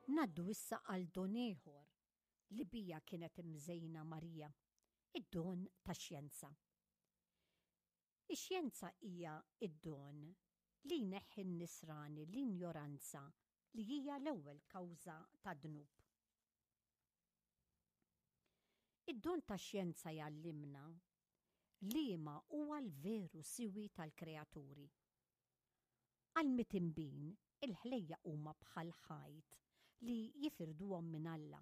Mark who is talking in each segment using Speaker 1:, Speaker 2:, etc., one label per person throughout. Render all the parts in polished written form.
Speaker 1: Ngħaddu issa għal don ieħor li bija kienet imżejna Marija, id-don tax-xjenza. Ix-xjenza hija d-don li jneħħi n-nisrani l-injoranza li hija l-ewwel kawża tad-dnub. Id-don tax-xjenza jgħallimna liema huwa l-veru siwi tal-kreaturi. Għall-mitinbin, il-ħlejjaq huma bħal ħajt li jifirduhom minn Alla.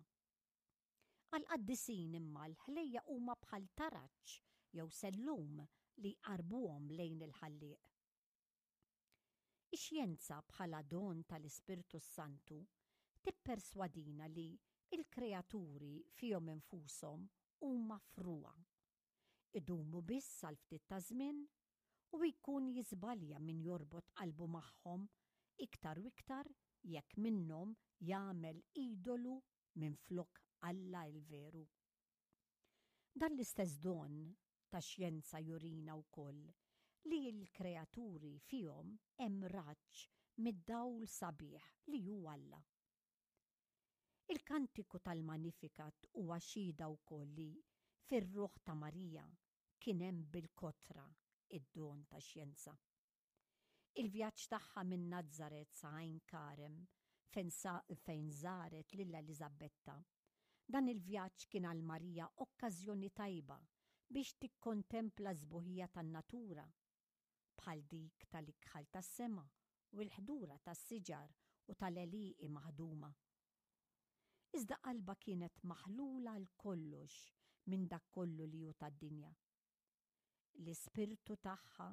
Speaker 1: Għall-qaddisin imma l-ħlejjaq huma bħal taraġ jew sellum li jqarrbuhom lejn il-Ħallieq. Ix-xjenza bħala don tal-Ispirtu s-Santu tipperswadina li l-kreaturi fihom infushom huma frugħa. Idumu biss għal ftit ta' żmien u jkun jiżbalja min jorbot qalbu magħhom iktar u iktar jekk minnhom jagħmel idolu minflok Alla l-veru. Dan l-istess don tax-xjenza jurina wkoll li l-kreaturi fihom hemm raġġ mid-dawl sabiħ li hu Alla. Il-kantiku tal-Magnificat huwa xhieda wkoll li fir-ruħ ta' Marija kien hemm bil-kotra d-don tax-xjenza. Il-vjaġġ tagħha minn Nazaret sa Għajn Karem, fejn żaret lil Eliżabetta. Dan il-vjaġġ kien għal Marija okkażjoni tajba biex tikkontempla s-sbuħija tan-natura, bħal dik tal-ikħal tas-sema u l-ħdura tas-siġar u tal-għelieqi maħduma. Iżda qalbha kienet maħlula għal kollox minn dak kollu li hu tad-dinja. L-ispirtu tagħha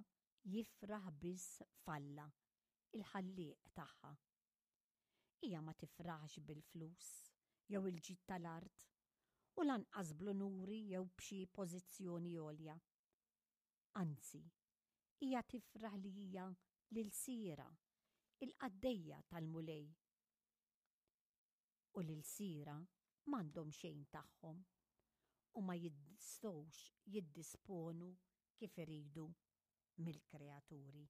Speaker 1: jifraħ biss f'Alla, il-Ħallieq tagħha. Hija ma tifraħx bil-flus jew il-ġid tal-art, u lanqas bl-unuri jew b'xi pożizzjoni għolja. Anzi, hija tifraħ li hija l-ilsiera, il-qaddejja tal-Mulej. U l-ilsiera m'għandhom xejn tagħhom u ma jistgħux jiddisponu kif iridu mill-kreaturi.